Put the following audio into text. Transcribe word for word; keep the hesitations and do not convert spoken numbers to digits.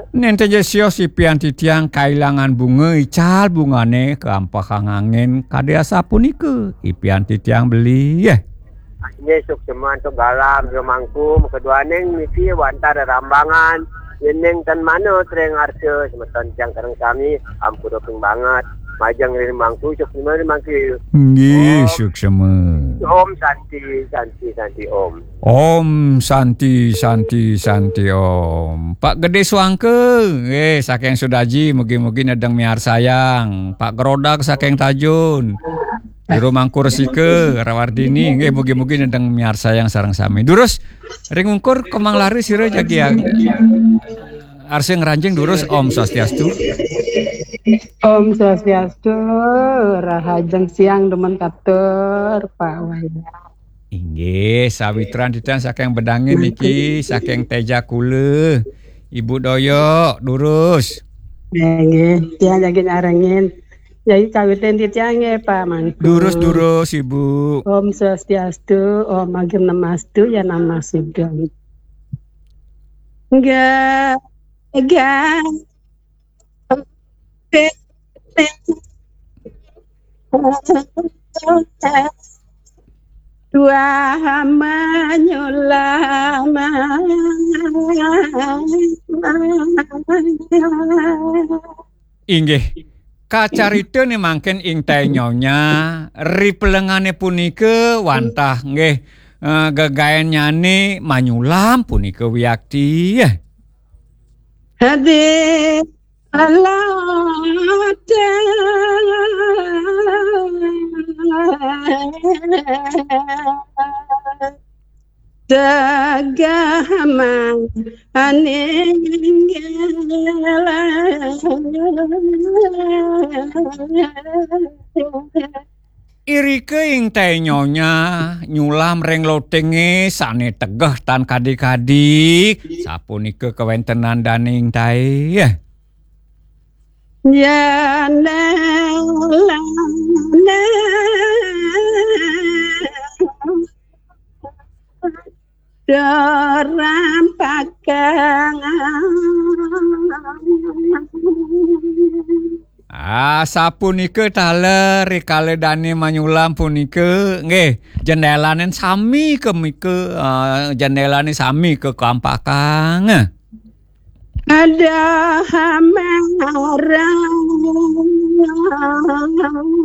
Nenten ja sios ipian titiang kailangan bunga ical bungane keampehang angin kadi asapunika ipian titiang beli. Inggih, suksma antuk galam, jero mangku, makeduaning niki wantah rerambangan, yening tan manut ring arsa, semeton tiang sareng sami, ampura ping banget, majeng ring mangku, suksma ring mangku. Inggih, Om. Suksma. Om Santi, Santi, Santi, Om. Om Santi, Santi, Santi, Om. Pak Gede Suangke, eh, saking Sudaji, mugi-mugi nedeng miarsayang. Pak Gerodak saking Tajun. Jero Mangku Resika, Rawardini, nggih, mugi-mugi nedeng miarsayang sareng sami. Durus, ring ungkur kemang lare sira jagi ang-, arsa ngranjing durus, Om Swastiastu. Om Swastiastu, rahajeng siang demen katur, Pak Wayan. Inggih, sawitran titiang saking Bedangin niki, saking Tejakula. Ibu Doyok, durus. Nggih, nggih. Tiang jagi nyarengin. Jagi kawitin titiang nggih, Pak Mangku. Durus, durus, Ibu. Om Swastiastu, Om Agem Namastu, ya Namah Sugeng. Enggak, enggak. Dua manyulam. Inggih. Kacarita ni mangkin ing tai nyonya, ri pelengane punika wantah nggih, eh, gegaennyane manyulam punika wiakti. Hadi alata tegah maning. Irika ing tai nyonya nyulam ring lotinge sane tegeh tan kadi-kadi. Sapunika kawentenan daning tai. Jandalane derampakang. Ah, sapunika taler rikala dane manyulam punika, nggih, jendelane sami ke mika, ah, jendelane sami ke kampakang. Ada hamarang.